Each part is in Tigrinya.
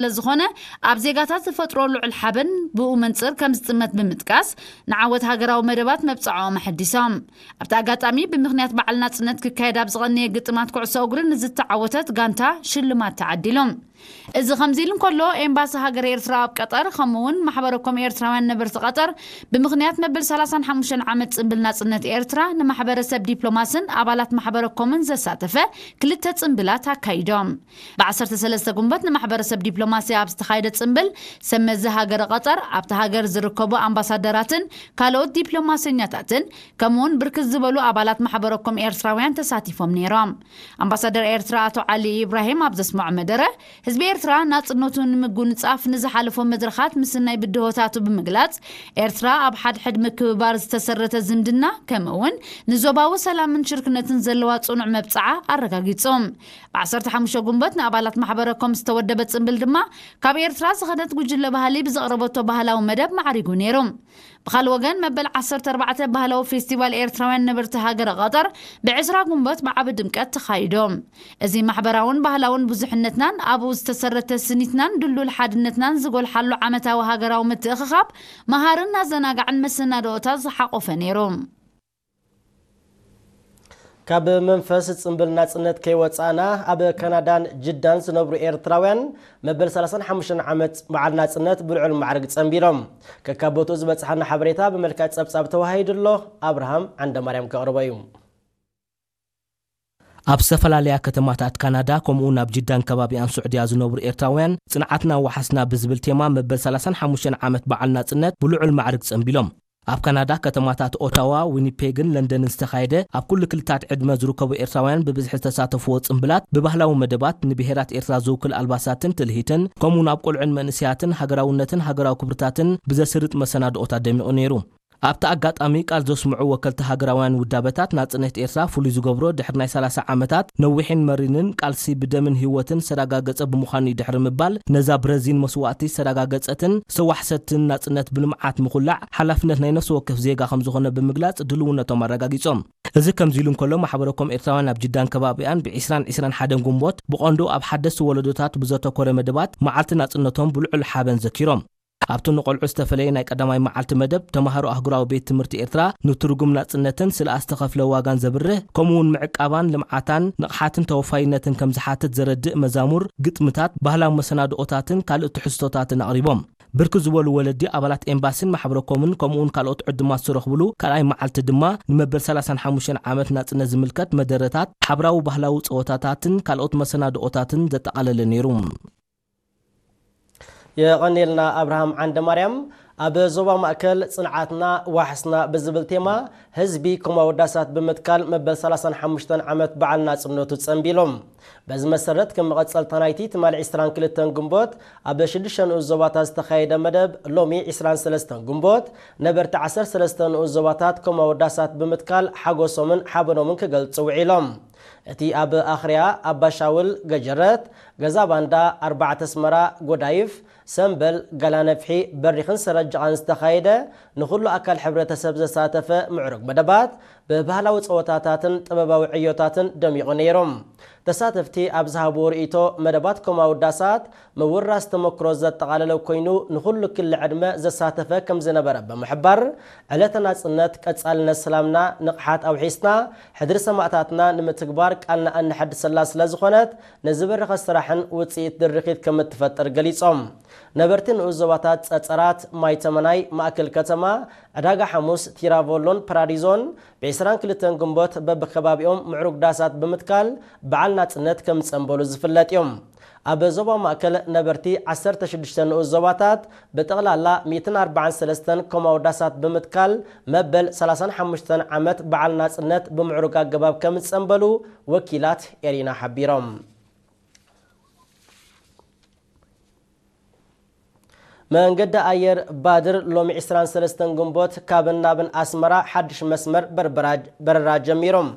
ስለዝኾነ ኣብ ዜጋታት ዝፈጥሮ ልዑል ሓበን ብኡ መንፅር ከም ዝጥመት ብምጥቃስ ንዓወት ሃገራዊ መደባት መብፅዓኦም ኣሐዲሶም። ኣብቲ ኣጋጣሚ ብምኽንያት በዓል ናፅነት ክካየድ ኣብ ዝቐነየ ግጥማት ኩዕሶ እግሪ ንዝተዓወተት ጋንታ ሽልማት ተዓዲሎም። እዚ ከምዚ ኢሉ እንከሎ ኤምባሲ ሃገር ኤርትራ ኣብ ቀጠር ከምኡ እውን ማሕበረኮም ኤርትራውያን ነበርቲ ቀጠር ብምኽንያት መበል ሰላሳን ሓሙሽተን ዓመት ጽንብል ናጽነት ኤርትራ ንማሕበረሰብ ዲፕሎማስን ኣባላት ማሕበረኮምን ዘሳተፈ ክልተ ጽንብላት ኣካይዶም። ብ13 ጉንበት ንማሕበረሰብ ዲፕሎማሲ ኣብ ዝተኻየደ ጽንብል ሰመዚ ሃገረ ቀጠር ኣብቲ ሃገር ዝርከቡ ኣምባሳደራትን ካልኦት ዲፕሎማሰኛታትን ከምኡውን ብርክት ዝበሉ ኣባላት ማሕበረኮም ኤርትራውያን ተሳቲፎም ነይሮም። ኣምባሳደር ኤርትራ ኣቶ ዓሊ ኢብራሂም ኣብ ዘስምዖ መደረ ህዝቢ ኤርትራ ናጽነቱ ንምጉንጻፍ ንዝሓለፎ መድረኻት ምስናይ ብድሆታቱ ብምግላጽ ኤርትራ ኣብ ሓድሕድ ምክብባር ዝተሰረተ ዝምድና ከምኡውን ንዞባዊ ሰላምን ሽርክነትን ዘለዋ ጽኑዕ መብጽዓ ኣረጋጊጹ። ብ15 ጉንበት ንኣባላት ማሕበረኮም ዝተወደበ ጽንብል ድማ ካብ ኤርትራ ዝኸደት ጉጅለ ባህሊ ብዘቕረበቶ ባህላዊ መደብ ማዕሪጉ ነይሩ። ብኻልእ ወገን መበል 14 ባህላዊ ፌስቲቫል ኤርትራውያን ነበርቲ ሃገረ ቀጠር ብ20 ጉንበት ብዓቢ ድምቀት ተኻይዶ። እዚ ማሕበራውን ባህላውን ብዙሕነትናን ኣብኡ ዝተሰረተ ስኒትናን ድሉል ሓድነትናን ዝጎልሓሉ ዓመታዊ ሃገራዊ ምትእኽኻብ መሃርን ኣዘናጋዕን መሰናድኦታት ዝሓቆፈ ነይሩ። ካብ መንፈስ ጽንብል ናጽነት ከይወጻእና ኣብ ካናዳን ጅዳን ዝነብሩ ኤርትራውያን መበል 35 ዓመት በዓል ናጽነት ብልዑል ማዕርግ ጸንቢሎም። ከካብ ቦትኡ ዝበጽሓና ሓበሬታ ብመልክዕ ጸብጻብ ተዋሂዱ ኣሎ። ኣብርሃም ዓንደማርያም ከቕርቦ እዩ። ኣብ ዝተፈላለያ ከተማታት ካናዳ ከምኡ እውን ኣብ ጅዳን ከባቢኣን ስዑድያ ዝነብሩ ኤርትራውያን ጽንዓትና ዋሕስና ብዝብል ቴማ መበል 35 ዓመት በዓል ናጽነት ብልዑል ማዕርግ ጸንቢሎም። ኣብ ካናዳ ከተማታት ኦታዋ፣ ዊኒፔግን ለንደንን ዝተኻየደ ኣብ ኩሉ ክልታት ዕድመ ዝርከቡ ኤርትራውያን ብብዝሒ ዝተሳተፍዎ ጽንብላት ብባህላዊ መደባት ንብሄራት ኤርትራ ዝውክል ኣልባሳትን ትልሂትን ከምኡውን ኣብ ቆልዑን መንእሰያትን ሃገራውነትን ሃገራዊ ክብርታትን ብዘስርጥ መሰናድኦታት ደሚቑ ነይሩ። ኣብቲ ኣጋጣሚ ቃል ዘስምዑ ወከልቲ ሃገራውያን ውዳበታት ናጽነት ኤርትራ ፍሉይ ዝገብሮ ድሕሪ ናይ 30 ዓመታት ነዊሕን መሪንን ቃልሲ ብደምን ህይወትን ዝተረጋገጸ ብምዃኑ እዩ ድሕሪ ምባል ነዛ ብረዚን መስዋእቲ ዝተረጋገጸትን ዝተዋሕሰትን ናጽነት ብልምዓት ምኹላዕ ሓላፍነት ናይ ነፍሲ ወከፍ ዜጋ ከም ዝኾነ ብምግላጽ ድልውነቶም ኣረጋጊጾም። እዚ ከምዚ ኢሉ እንከሎ ማሕበረኮም ኤርትራውያን ኣብ ጅዳን ከባቢኣን ብ20ን 21 ጉንቦት ብቐንዱ ኣብ ሓደስቲ ወለዶታት ብዘተኮረ መደባት መዓልቲ ናጽነቶም ብልዑል ሓበን ዘኪሮም። ኣብቲ ንቆልዑ ዝተፈለየ ናይ ቀዳማይ መዓልቲ መደብ ተማሃሮ ኣህጉራዊ ቤት ትምህርቲ ኤርትራ ንትርጉም ናጽነትን ስለ ዝተኸፍለ ዋጋን ዘብርህ ከምኡውን ምዕቃባን ልምዓታን ንቕሓትን ተወፋይነትን ከም ዝሓትት ዘረድእ መዛሙር፣ ግጥምታት፣ ባህላዊ መሰናድኦታትን ካልእ ትሕዝቶታትን ኣቕሪቦም። ብርክት ዝበሉ ወለዲ ኣባላት ኤምባሲን ማሕበረኮምን ከምኡውን ካልኦት ዕዱማት ዝተረኽብሉ ካልኣይ መዓልቲ ድማ ንመበል 35 ዓመት ናጽነት ዝምልከት መደረታት፣ ሓብራዊ ባህላዊ ጸወታታትን ካልኦት መሰናድኦታትን ዘጠቓለለ ነይሩ። የቐኔልና ኣብርሃም ዓንደ ማርያም። ኣብ ዞባ ማእከል ጽንዓትና ዋሕስና ብዝብል ቴማ ህዝቢ ከም ኣወዳሳት ብምትካል መበል 35 ዓመት በዓል ናጽነቱ ጸንቢሎም። በዚ መሰረት ከም መቐጸልታ ናይቲ ትማሊ 22 ግንቦት ኣብ ሽዱሽተ ንኡስ ዞባታት ዝተኻየደ መደብ ሎሚ 23 ግንቦት ነበርቲ 13 ንኡስ ዞባታት ከም ኣወዳሳት ብምትካል ሓጎሶምን ሓበኖምን ክገልጹ ውዒሎም። እቲ ኣብ ኣኽርያ፣ ኣባሻውል፣ ገጀረት፣ ገዛ ባንዳ፣ ኣርባዕተ ኣስመራ፣ ጎዳይፍ፣ ሰምበል፣ ጋላነፍሒ፣ በሪኽን ሰረጅቓን ዝተኻየደ ንኹሉ ኣካል ሕብረተሰብ ዘሳተፈ ምዕሩግ መደባት ብባህላዊ ጸወታታትን ጥበባዊ ዕዮታትን ደሚቑ ነይሩ። ተሳተፍቲ ኣብ ዝሃብዎ ርእይቶ መደባት ከም ኣወዳሳት ምውራስ ተመክሮ ዘጠቓለለ ኮይኑ ንኹሉ ክሊ ዕድመ ዘሳተፈ ከም ዝነበረ ብምሕባር ዕለተ ናጽነት ቀጻልነት ሰላምና ንቕሓት ኣውሒስና ሕድሪ ሰማእታትና ንምትግባር ቃልና እነሐድሰላ ስለ ዝኾነት ንዝበረኸ ስራሕን ውጽኢት ድርኺት ከም እትፈጥር ገሊጾም። ነበርቲ ንኡስ ዞባታት ጸጸራት፣ ማይ ተመናይ፣ ማእከል ከተማ፣ ዕዳጋ ሓሙስ፣ ቲራቮሎን ፓራዲዞን ብ22 ግንቦት በብከባቢኦም ምዕሩግ ዳሳት ብምትካል በዓል ናጽነት ከም ዝጸንበሉ ዝፍለጥ እዮም። ኣብ ዞባ ማእከል ነበርቲ 16 ንኡስ ዞባታት ብጠቕላላ 143 ኮማዊ ዳሳት ብምትካል መበል 35 ዓመት በዓል ናጽነት ብምዕሩግ ኣገባብ ከም ዝጸንበሉ ወኪላት ኤሪና ሓቢሮም። መንገዲ ኣየር ባድር ሎሚ 23 ግንቦት ካብን ናብን ኣስመራ ሓድሽ መስመር በርበራ-፣ በረራ ጀሚሮም።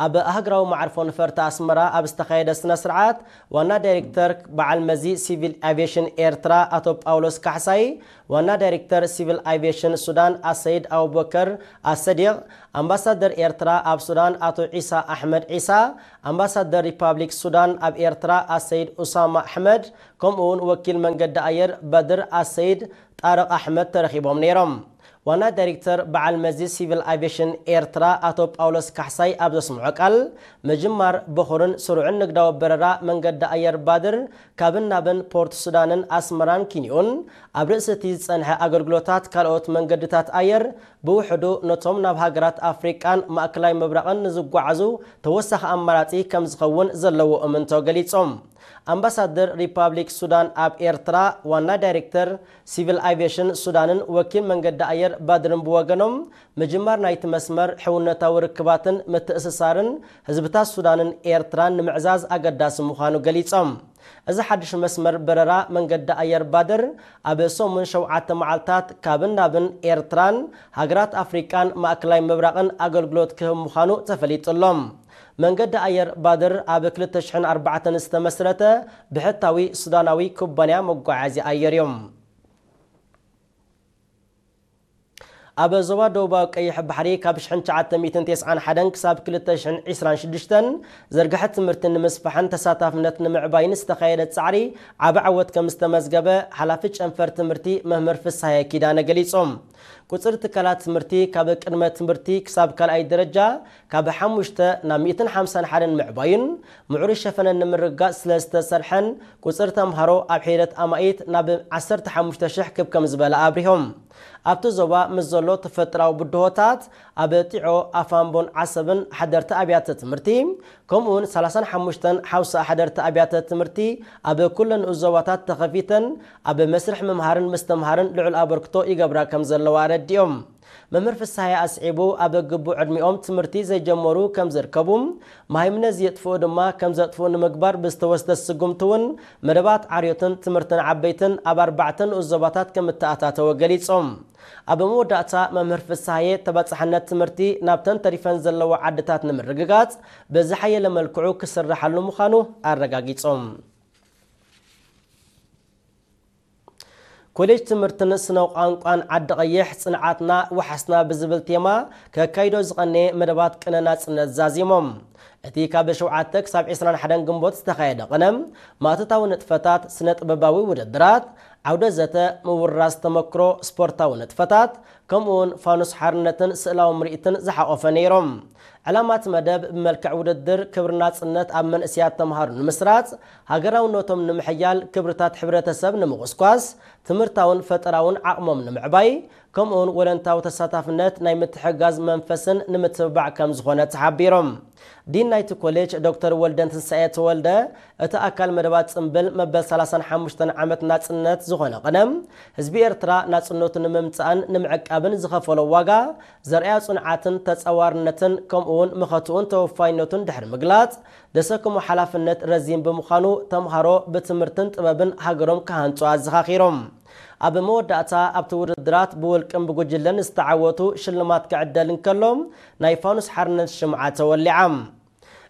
ኣብ ኣህግራዊ መዓርፎ ነፈርቲ ኣስመራ ኣብ ዝተኻየደ ስነ ስርዓት ዋና ዳይሬክተር በዓል መዚ ሲቪል ኣቪዬሽን ኤርትራ ኣቶ ጳውሎስ ካሕሳይ፣ ዋና ዳይሬክተር ሲቪል ኣቪዬሽን ሱዳን ኣሰይድ ኣቡበከር ኣሰዲቕ፣ ኣምባሳደር ኤርትራ ኣብ ሱዳን ኣቶ ዒሳ ኣሕመድ ዒሳ፣ ኣምባሳደር ሪፓብሊክ ሱዳን ኣብ ኤርትራ ኣሰይድ ኡሳማ ኣሕመድ፣ ከምኡ እውን ወኪል መንገዲ ኣየር በድር ኣሰይድ ጣርቕ ኣሕመድ ተረኺቦም ነይሮም። ዋና ዳይሬክተር በዓል መዚ ሲቪል ኣቪዬሽን ኤርትራ ኣቶ ጳውሎስ ካሕሳይ ኣብ ዘስምዖ ቃል፣ ምጅማር በኹርን ስሩዕን ንግዳዊ በረራ መንገዲ ኣየር ባድር ካብን ናብን ፖርት ሱዳንን ኣስመራን ኪንዮን፣ ኣብ ርእሲ እቲ ዝጸንሐ ኣገልግሎታት ካልኦት መንገድታት ኣየር ብውሕዱ ነቶም ናብ ሃገራት ኣፍሪቃን ማእከላይ ምብራቕን ንዝጓዓዙ ተወሳኺ ኣማራጺ ከም ዝኸውን ዘለዎ እምንቶ ገሊጾም። ኣምባሳደር ሪፓብሊክ ሱዳን ኣብ ኤርትራ፣ ዋና ዳይሬክተር ሲቪል ኣቪዬሽን ሱዳንን ወኪል መንገዲ ኣየር ባድርን ብወገኖም፣ ምጅማር ናይቲ መስመር ሕውነታዊ ርክባትን ምትእስሳርን ህዝብታት ሱዳንን ኤርትራን ንምዕዛዝ ኣገዳሲ ምዃኑ ገሊጾም። እዚ ሓድሽ መስመር በረራ መንገዲ ኣየር ባድር ኣብ ሰሙን ሸውዓተ መዓልታት ካብን ናብን ኤርትራን ሃገራት ኣፍሪቃን ማእከላይ ምብራቕን ኣገልግሎት ክህብ ምዃኑ ተፈሊጡ ኣሎ። መንገዲ ኣየር ባድር ኣብ ክልተ ሽሕን ኣርባዕተን ዝተመስረተ ብሕታዊ ሱዳናዊ ኩባንያ መጓዓዝያ ኣየር እዩ። ኣብ ዞባ ደቡባዊ ቀይሕ ባሕሪ ካብ ሽሕን ትሽዓተ ሚእትን ተስዓን ሓደን ክሳብ ክልተ ሽሕን ዕስራን ሽዱሽተን ዝርግሐ ትምህርቲ ንምስፋሕን ተሳታፍነት ንምዕባይን ዝተኻየደ ጻዕሪ ዓቢ ዓወት ከም ዝተመዝገበ ሓላፊ ጨንፈር ትምህርቲ መምህር ፍስሃየ ኪዳነ ገሊጾም። ቁጽሪ ትካላት ትምህርቲ ካብ ቅድመ ትምህርቲ ክሳብ ካልኣይ ደረጃ ካብ ሓሙሽተ ናብ ሚእትን ሓምሳን ሓደን ምዕባዩን ምዕሩይ ሸፈነን ንምርግጋጽ ስለ ዝተሰርሐን ቁጽሪ ተምሃሮ ኣብ ሒደት ኣማኢት ናብ ዓሰርተ ሓሙሽተ ሽሕ ክብ ከም ዝበለ ኣብሪሆም። ኣብቲ ዞባ ምስ ዘሎ ተፈጥራዊ ብድሆታት ኣብ ጢዖ፣ ኣፋምቦን ዓሰብን ሓደርቲ ኣብያተ ትምህርቲ ከምኡውን ሰላሳን ሓሙሽተን ሓውሳ ሓደርቲ ኣብያተ ትምህርቲ ኣብ ኩለን ንኡስ ዞባታት ተኸፊተን ኣብ መስርሕ ምምሃርን ምስትምሃርን ልዑል ኣበርክቶ ይገብራ ከም ዘለዋ ኣረዲኦም። መምህር ፍስሃየ ኣስዒቡ፣ ኣብ ግቡእ ዕድሚኦም ትምህርቲ ዘይጀመሩ ከም ዝርከቡ፣ መሃይምነት ዝየጥፍኡ ድማ ከም ዘጥፍኡ ንምግባር ብዝተወስደ ስጉምቲ እውን መደባት ዓርዮትን ትምህርትን ዓበይትን ኣብ ኣርባዕተ ንኡስ ዞባታት ከም እተኣታተወ ገሊጾም። ኣብ መወዳእታ መምህር ፍስሃየ ተባጻሕነት ትምህርቲ ናብተን ተሪፈን ዘለዋ ዓድታት ንምርግጋጽ ብዝሓየለ መልክዑ ክስርሓሉ ምዃኑ ኣረጋጊጾም። ኮሌጅ ትምህርትን ስነ ቋንቋን ዓዲ ቀይሕ ጽንዓትና ወሓስና ብዝብል ቴማ ከካይዶ ዝቐነየ መደባት ቅነ ናጽነት ዛዚሞም። እቲ ካብ ሸውዓተ ክሳብ ዕስራን ሓደን ግንቦት ዝተኻየደ ቅነ ማእቶታዊ ንጥፈታት፣ ስነ ጥበባዊ ውድድራት፣ ዓውደ ዘተ፣ ምውራስ ተመክሮ፣ ስፖርታዊ ንጥፈታት፣ ከምኡውን ፋኑስ ሓርነትን ስእላዊ ምርኢትን ዝሓቖፈ ነይሮም። ዕላማ እቲ መደብ ብመልክዕ ውድድር ክብሪ ናጽነት ኣብ መንእሰያት ተምሃሮ ንምስራጽ፣ ሃገራውነቶም ንምሕያል፣ ክብርታት ሕብረተሰብ ንምቑስቋስ፣ ትምህርታውን ፈጠራውን ዓቕሞም ንምዕባይ፣ ከምኡውን ወለንታዊ ተሳታፍነት ናይ ምትሕግጋዝ መንፈስን ንምትብባዕ ከም ዝኾነ ተሓቢሮም። ዲን ናይቲ ኮሌጅ ዶክተር ወልደንትንሳኤ ተወልደ፣ እቲ ኣካል መደባት ጽምብል መበል ሰላሳን ሓሙሽተን ዓመት ናጽነት ዝኾነ ቅነ፣ ህዝቢ ኤርትራ ናጽነቱ ንምምጻእን ንምዕቃብን ዝኸፈሎ ዋጋ ዘርእያ ጽንዓትን ተጻዋርነትን ከምኡውን መኸትኡን ተወፋይነቱን ድሕሪ ምግላጽ፣ ዘሰከሞ ሓላፍነት ረዚን ብምዃኑ ተምሃሮ ብትምህርትን ጥበብን ሃገሮም ክሃንጹ ኣዘኻኺሮም። ኣብ መወዳእታ ኣብቲ ውድድራት ብውልቅን ብጉጅለን ዝተዓወቱ ሽልማት ክዕደል እንከሎ ናይ ፋኑስ ሓርነት ሽምዓ ተወሊዓ።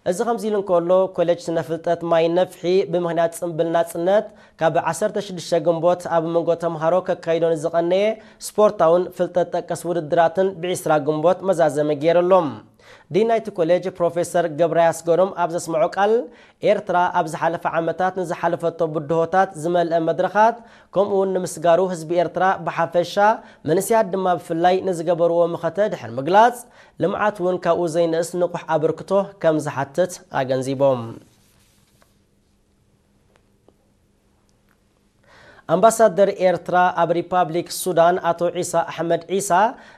እዚ ከምዚ ኢሉ እንከሎ ኮሌጅ ስነ ፍልጠት ማይ ነፍሒ ብምኽንያት ጽምብል ናጽነት ካብ ዓሰርተ ሽዱሽተ ግንቦት ኣብ መንጎ ተምሃሮ ከካይዶ ንዝቐነየ ስፖርታውን ፍልጠት ጠቀስ ውድድራትን ብዒስራ ግንቦት መዛዘሚ ገይሩ ኣሎ። ዲን ናይቲ ኮሌጅ ፕሮፌሰር ገብረ ኣስገዶም ኣብ ዘስምዖ ቃል፣ ኤርትራ ኣብ ዝሓለፈ ዓመታት ንዝሓለፈቶ ብድሆታት ዝመልአ መድረኻት ከምኡ እውን ንምስጋሩ ህዝቢ ኤርትራ ብሓፈሻ መንእሰያት ድማ ብፍላይ ንዝገበርዎ መኸተ ድሕሪ ምግላጽ፣ ልምዓት እውን ካብኡ ዘይንእስ ንቑሕ ኣበርክቶ ከም ዝሓትት ኣገንዚቦም። ኣምባሳደር ኤርትራ ኣብ ሪፓብሊክ ሱዳን ኣቶ ዒሳ ኣሕመድ ዒሳ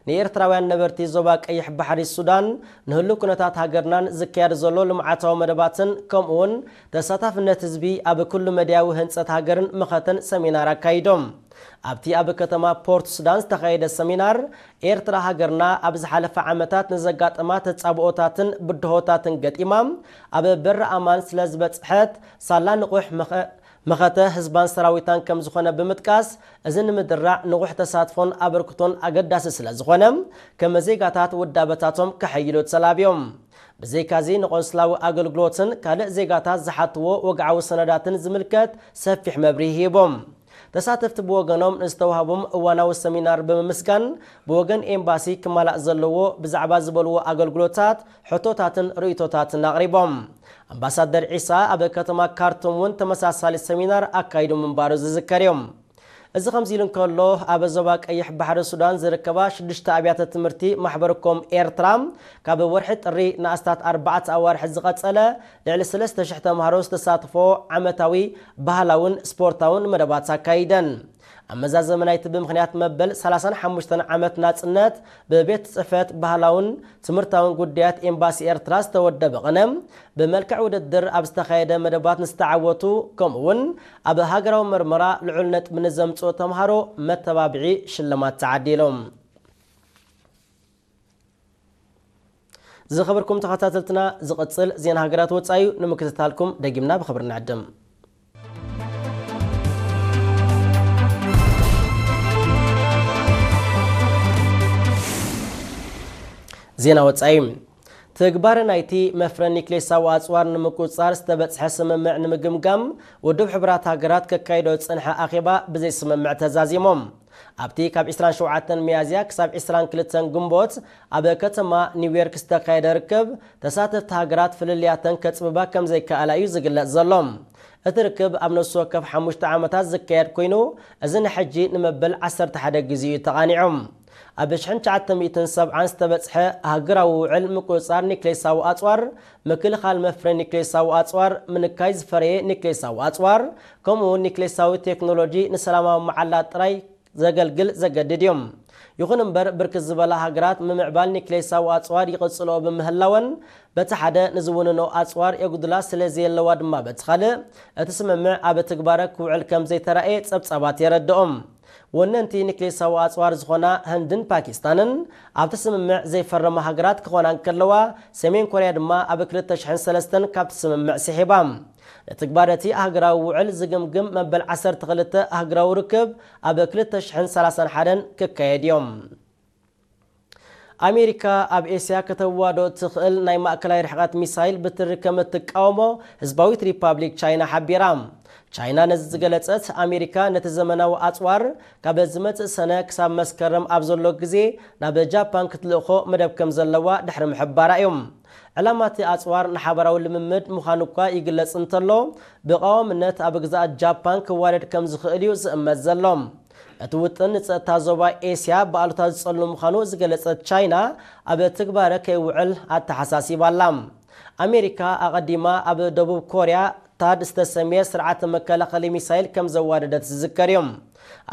ንኤርትራውያን ነበርቲ ዞባ ቀይሕ ባሕሪ ሱዳን ንህሉ ኩነታት ሃገርናን ዝካየድ ዘሎ ልምዓታዊ መደባትን ከምኡውን ተሳታፍነት ህዝቢ ኣብ ኩሉ መድያዊ ህንጸት ሃገርን መኸተን ሰሚናር ኣካይዶም። ኣብቲ ኣብ ከተማ ፖርት ሱዳን ዝተኻየደ ሰሚናር፣ ኤርትራ ሃገርና ኣብ ዝሓለፈ ዓመታት ንዘጋጠማ ተጻብኦታትን ብድሆታትን ገጢማ ኣብ በሪ ኣማን ስለ ዝበጽሐት ሳላ ንቑሕ መኸ መኸተ ህዝባን ሰራዊታን ከም ዝኾነ ብምጥቃስ፣ እዚ ንምድራዕ ንቑሕ ተሳትፎን ኣበርክቶን ኣገዳሲ ስለ ዝኾነ፣ ከመ ዜጋታት ውዳበታቶም ከሐይሉ ተላብዮም። ብዘይካዚ ንቆንስላዊ ኣገልግሎትን ካልእ ዜጋታት ዝሓትዎ ወግዓዊ ሰነዳትን ዝምልከት ሰፊሕ መብርሂ ሂቦም። ተሳተፍቲ ብወገኖም ንዝተዋህቦም እዋናዊ ሰሚናር ብምምስጋን፣ ብወገን ኤምባሲ ክማላእ ዘለዎ ብዛዕባ ዝበልዎ ኣገልግሎታት ሕቶታትን ርእይቶታትን ኣቕሪቦም። ኣምባሳደር ዒሳ ኣብ ከተማ ካርቱም እውን ተመሳሳሊ ሰሚናር ኣካይዱ ምንባሩ ዝዝከር እዩ። እዚ ከምዚ ኢሉ እንከሎ፣ ኣብ ዞባ ቀይሕ ባሕሪ ሱዳን ዝርከባ ሽዱሽተ ኣብያተ ትምህርቲ ማሕበርኮም ኤርትራ ካብ ወርሒ ጥሪ ንኣስታት ኣርባዕተ ኣዋርሕ ዝቐጸለ ልዕሊ ሰለስተ ሽሕ ተምሃሮ ዝተሳትፎ ዓመታዊ ባህላውን ስፖርታውን መደባት ኣካይደን። ኣብ መዛዘሚ ናይቲ ብምኽንያት መበል ሰላሳን ሓሙሽተን ዓመት ናጽነት ብቤት ጽሕፈት ባህላውን ትምህርታውን ጉዳያት ኤምባሲ ኤርትራ ዝተወደበ ቅነ፣ ብመልክዕ ውድድር ኣብ ዝተኻየደ መደባት ንዝተዓወቱ፣ ከምኡ እውን ኣብ ሃገራዊ መርመራ ልዑል ነጥቢ ንዘምጽኡ ተምሃሮ መተባብዒ ሽልማት ተዓዲሎም። ዝኸበርኩም ተኸታተልትና፣ ዝቕጽል ዜና ሃገራት ወጻኢ እዩ። ንምክትታልኩም ደጊምና ብኽብሪ ንዕድም። ዜና ወጻኢ። ትግባረ ናይቲ መፍረ ኒክሌሳዊ ኣጽዋር ንምቁጽጻር ዝተበጽሐ ስምምዕ ንምግምጋም ውድብ ሕቡራት ሃገራት ከካይዶ ዝጸንሐ ኣኼባ ብዘይ ስምምዕ ተዛዚሞም። ኣብቲ ካብ ዕስራን ሸውዓተን ሚያዝያ ክሳብ ዕስራን ክልተን ግንቦት ኣብ ከተማ ኒውዮርክ ዝተኻየደ ርክብ፣ ተሳተፍቲ ሃገራት ፍልልያተን ከጽብባ ከም ዘይከኣላ እዩ ዝግለጽ ዘሎ። እቲ ርክብ ኣብ ነፍሲ ወከፍ ሓሙሽተ ዓመታት ዝካየድ ኮይኑ፣ እዚ ንሕጂ ንመበል ዓሰርተ ሓደ ግዜ እዩ ተቓኒዑ። ኣብ ሽሕን ትሽዓተ ሚእትን ሰብዓን ዝተበጽሐ ሃገራዊ ውዕል ምቁጽጻር ኒክሌሳዊ ኣጽዋር፣ ምክልኻል መፍረ ኒክሌሳዊ ኣጽዋር፣ ምንካይ ዝፈረየ ኒክሌሳዊ ኣጽዋር፣ ከምኡ እውን ኒክሌሳዊ ቴክኖሎጂ ንሰላማዊ መዓላ ጥራይ ዘገልግል ዘገድድ እዩ። ይኹን እምበር፣ ብርክት ዝበላ ሃገራት ምምዕባል ኒክሌሳዊ ኣጽዋር ይቕጽልኦ ብምህላወን፣ በቲ ሓደ ንዝውንኖ ኣጽዋር የጉድላ ስለ ዘየለዋ ድማ፣ በቲ ካልእ እቲ ስምምዕ ኣብ ትግባረ ክውዕል ከም ዘይተራእየ ጸብጻባት የረድኦም። ወነንቲ ኒክሌሳዊ ኣጽዋር ዝኾና ህንድን ፓኪስታንን ኣብቲ ስምምዕ ዘይፈረማ ሃገራት ክኾና እንከለዋ፣ ሰሜን ኮርያ ድማ ኣብ ክልተ ሽሕን ሰለስተን ካብቲ ስምምዕ ስሒባ። ንትግባረ እቲ ሃገራዊ ውዕል ዝግምግም መበል ዓሰርተ ክልተ ኣህጉራዊ ርክብ ኣብ ክልተ ሽሕን ሰላሳን ሓደን ክካየድ እዮም። ኣሜሪካ ኣብ ኤስያ ከተዋዶ እትኽእል ናይ ማእከላይ ርሕቐት ሚሳይል ብትሪ ከም እትቃወሞ ህዝባዊት ሪፓብሊክ ቻይና ሓቢራ። ቻይና ነዚ ዝገለጸት፣ ኣሜሪካ ነቲ ዘመናዊ ኣጽዋር ካብ ዝመጽእ ሰነ ክሳብ መስከረም ኣብ ዘሎ ግዜ ናብ ጃፓን ክትልእኾ መደብ ከም ዘለዋ ድሕሪ ምሕባራ እዩ። ዕላማ እቲ ኣጽዋር ንሓባራዊ ልምምድ ምዃኑ እኳ ይግለጽ እንተሎ፣ ብቐዋምነት ኣብ ግዝኣት ጃፓን ክዋደድ ከም ዝኽእል እዩ ዝእመት ዘሎ። እቲ ውጥን ንጸጥታ ዞባ ኤስያ ብኣሉታ ዝጸሉ ምዃኑ ዝገለጸት ቻይና፣ ኣብ ትግባረ ከይውዕል ኣተሓሳሲባ ኣላ። ኣሜሪካ ኣቐዲማ ኣብ ደቡብ ኮርያ ታድ ዝተሰምየ ስርዓተ መከላኸሊ ሚሳይል ከም ዘዋደደት ዝዝከር እዩ።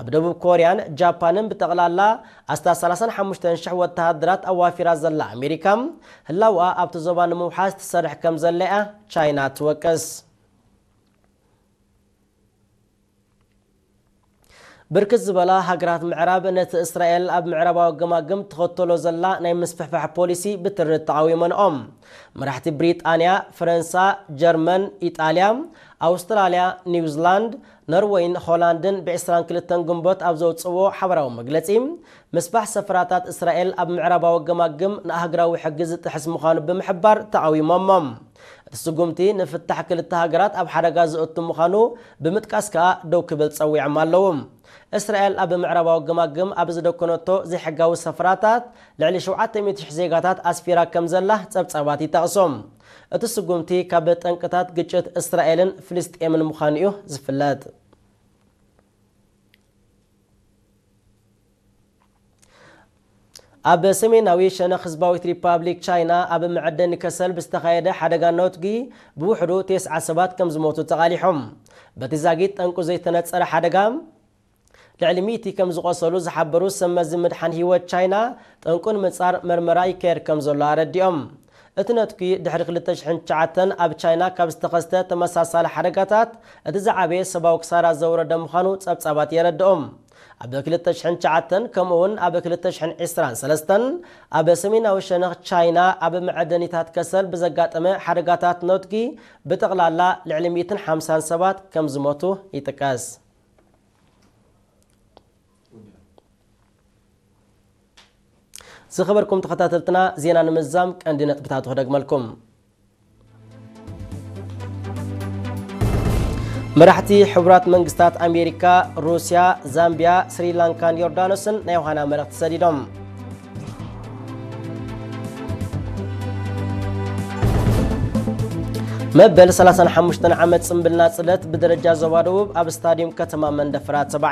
ኣብ ደቡብ ኮርያን ጃፓንን ብጠቕላላ ኣስታት ሰላሳን ሓሙሽተን ሽሕ ወተሃደራት ኣዋፊራ ዘላ ኣሜሪካ፣ ህላውኣ ኣብቲ ዞባ ንምውሓስ ትሰርሕ ከም ዘላ እያ ቻይና ትወቅስ። ብርክት ዝበላ ሃገራት ምዕራብ ነቲ እስራኤል ኣብ ምዕራባዊ ገማግም ትኸተሎ ዘላ ናይ ምስፍሕፋሕ ፖሊሲ ብትሪ ተቓዊመንኦም። መራሕቲ ብሪጣንያ፣ ፈረንሳ፣ ጀርመን፣ ኢጣልያ፣ ኣውስትራልያ፣ ኒውዚላንድ፣ ኖርወይን ሆላንድን ብዕስራን ክልተን ግንቦት ኣብ ዘውፅዎ ሓበራዊ መግለፂ፣ ምስፋሕ ሰፈራታት እስራኤል ኣብ ምዕራባዊ ገማግም ንኣህግራዊ ሕጊ ዝጥሕስ ምዃኑ ብምሕባር ተቓዊሞሞ። እቲ ስጉምቲ ንፍታሕ ክልተ ሃገራት ኣብ ሓደጋ ዘእቱ ምዃኑ ብምጥቃስ ከኣ ደው ክብል ጸዊዖም ኣለዉ። እስራኤል ኣብ ምዕራባዊ ገማግም ኣብ ዝደኮነቶ ዘይሕጋዊ ሰፈራታት ልዕሊ ሸውዓተ ሚእቲ ሽሕ ዜጋታት ኣስፊራ ከም ዘላ ጸብጻባት ይጠቕሱ። እቲ ስጉምቲ ካብ ጠንቅታት ግጭት እስራኤልን ፍልስጤምን ምዃኑ እዩ ዝፍለጥ። ኣብ ሰሜናዊ ሸነኽ ህዝባዊት ሪፓብሊክ ቻይና ኣብ መዐደኒ ከሰል ብዝተኻየደ ሓደጋ ነውትጊ ብውሕዱ ተስዓ ሰባት ከም ዝሞቱ ተቓሊሖም። በቲ ዛጊት ጠንቁ ዘይተነጸረ ሓደጋ ልዕሊ ሚእቲ ከም ዝቖሰሉ ዝሓበሩ ሰብ መዚ ምድሓን ህይወት ቻይና፣ ጠንቁ ንምጻር መርመራ ይካየድ ከም ዘሎ ኣረዲኦም። እቲ ነትጒ ድሕሪ ክልተ ሽሕን ትሽዓተን ኣብ ቻይና ካብ ዝተኸስተ ተመሳሳሊ ሓደጋታት እቲ ዝዓበየ ሰብኣዊ ክሳራ ዘውረደ ምዃኑ ጸብጻባት የረድኦም። ኣብ ክልተ ሽሕን ትሽዓተን ከምኡውን ኣብ ክልተ ሽሕን ዕስራን ሰለስተን ኣብ ሰሜናዊ ሸነኽ ቻይና ኣብ መዐደኒታት ከሰል ብዘጋጠመ ሓደጋታት ነውትጊ ብጠቕላላ ልዕሊ ሚእትን ሓምሳን ሰባት ከም ዝሞቱ ይጥቀስ። ዝኸበርኩም ተኸታተልትና፣ ዜና ንምዛም ቀንዲ ነጥብታቱ ክደግመልኩም። መራሕቲ ሕቡራት መንግስታት ኣሜሪካ፣ ሩስያ፣ ዛምቢያ፣ ስሪላንካን ዮርዳኖስን ናይ ዮሃና መልእኽቲ ሰዲዶም። መበል ሰላሳን ሓሙሽተን ዓመት ጽምብል ናጽነት ብደረጃ ዞባ ደቡብ ኣብ ስታዲየም ከተማ መንደፈራ ተባዕ